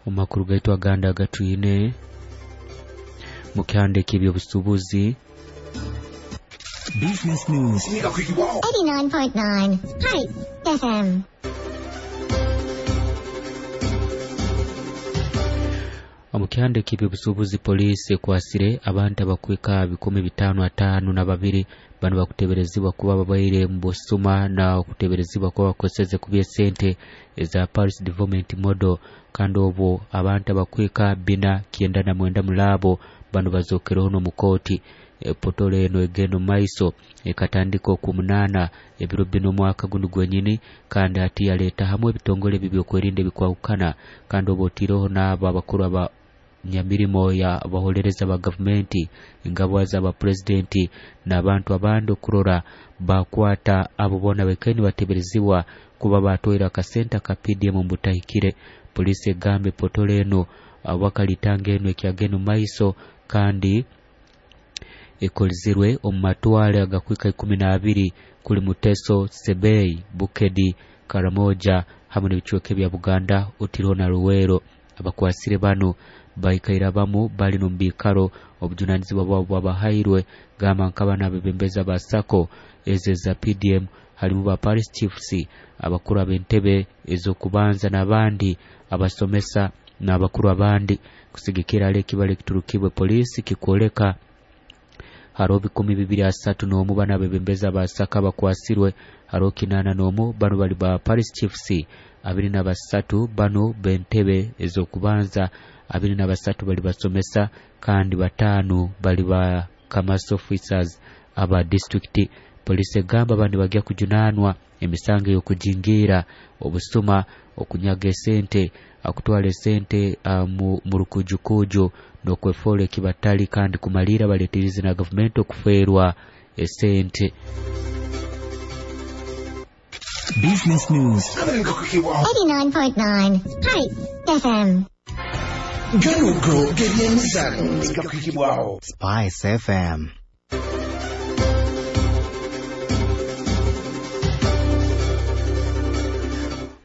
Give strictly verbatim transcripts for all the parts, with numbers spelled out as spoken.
Omu makuru gaitu agandi agatwine mu kihandiiko eby'obusuubuzi. Business News. eighty-nine point nine Spice F M. Omu kihandiiko eby'obusuubuzi, poliisi ekwasire abantu abakwika bikumi bitaano ataano na babiri. Bano bakuteberezibwa kuba babaire mu busuma na okuteberezibwa kuba bakozeseze kubi esente eza Parish Development Model, kandi obwo abantu abakwika bina kyenda na mwenda mulaabo bano bazokereho n'omu kooti. Epotolo eno egenda omu maiso ekatandika okwomunaana ebiro bina omwaka gunu gwenyini, kandi hati yaleeta hamwe ebitongole ebi ebyokwerinda ebikwahukana, kandi oba otiireho n'abo abakuru aba nyamirimo ya abaholereza ba gavumenti, engabwa z'abapurezidenti n'abantu abandi, okurora bakwata abo boona baikaire nibateberezibwa kuba batwaire akasente aka P D M omu butahikire. Poliisi egamba epotolo eno wakalitanga eno ekyagenda omu maiso kandi ekolezirwe omu matwale agakwika ikumi n'abiri, kuli Muteso, Sebei, Bukedi, Karamoja hamwe n'ebicweka ebya Buganda, otiireho na Luweero. Abakwasire banu baikaire abamu bali n'omu biikaro obujunanizibwa bwabo bwabahairwe, gamba nk'abana abebembezi aba SACCO ezo eza P D M, halimu ba parish chiefs, abakuru ab'entebe ez'okubanza n'abandi, abasomesa n'abakuru abandi. Kusigikira hali ekibalo ekiturukibwe poliisi kikwoleka haroho bikumi bibiri asatu n'omu bano abebembezi aba SACCO abakwasirwe, haroho kinaana n'omu bano bali ba parish chiefs, abiri na basatu bano b'entebe ez'okubanza, abiri na basatu bali basomesa, kandi bataano bali ba commerce officers aba disitulikiti. Poliisi egamba bano nibagya kujunanwa emisango ey'okujingiira, obusuma, okunyaga esente, akutwara esente uh, mu, mu rukujukuju n'okwefoora ekibatali, kandi kumaliira baleetirize na gavumenti okufeerwa esente. Business News. eighty-nine point nine Spice F M. Gano go gebyemizano gakwikibwaho. Spice F M.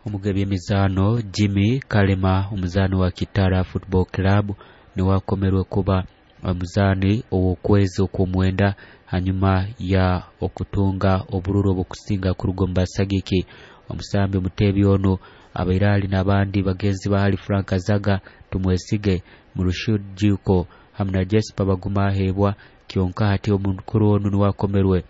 Omugabi emizaano Jimmy Kalema, omuzaani wa Kitara Football Club, niwe akomerwe kuba omuzaani ow'okwezi okw'omwenda hanyuma ya okutunga obururu obukusinga kuruga omu basagiki. Omusambi omuteebi ono abaire ali n'abandi bagenzi ba hali Frank Azaga, Tumwesige, Murushid Juko hamu na Jesper Baguma aheebwa. Kyonka hati omukuru onu niwe akomerwe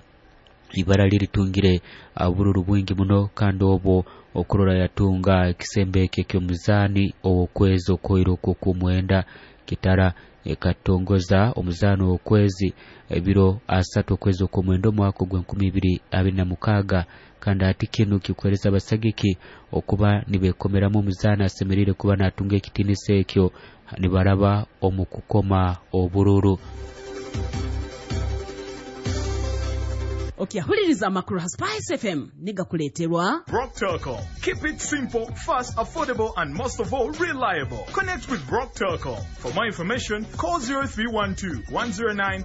ibara liritungire obururu bwingi muno, kandi obwo okurora yatunga ekisembo ekyo eky'omuzaani ow'okwezi okwoire okwo okw'omwenda. Kitara ekatongoza omuzaano w'okwezi ebiro asatu okwezi okw'omwenda omwaka ogw'enkumi ibiri abiri na mukaaga, kandi hati kinu kikuhereza abasagiki okuba nibekomeramu omuzaani asemeriire kuba natunga ekitiinisa ekyo nibaraba omu kukoma obururu. Okyahuliriza amakuru ha Spice F M nigakuleeterwa Brock Telcom. Keep it simple, fast, affordable, and most of all, reliable. Connect with Brock Telcom. For more information, call zero three one two one zero nine.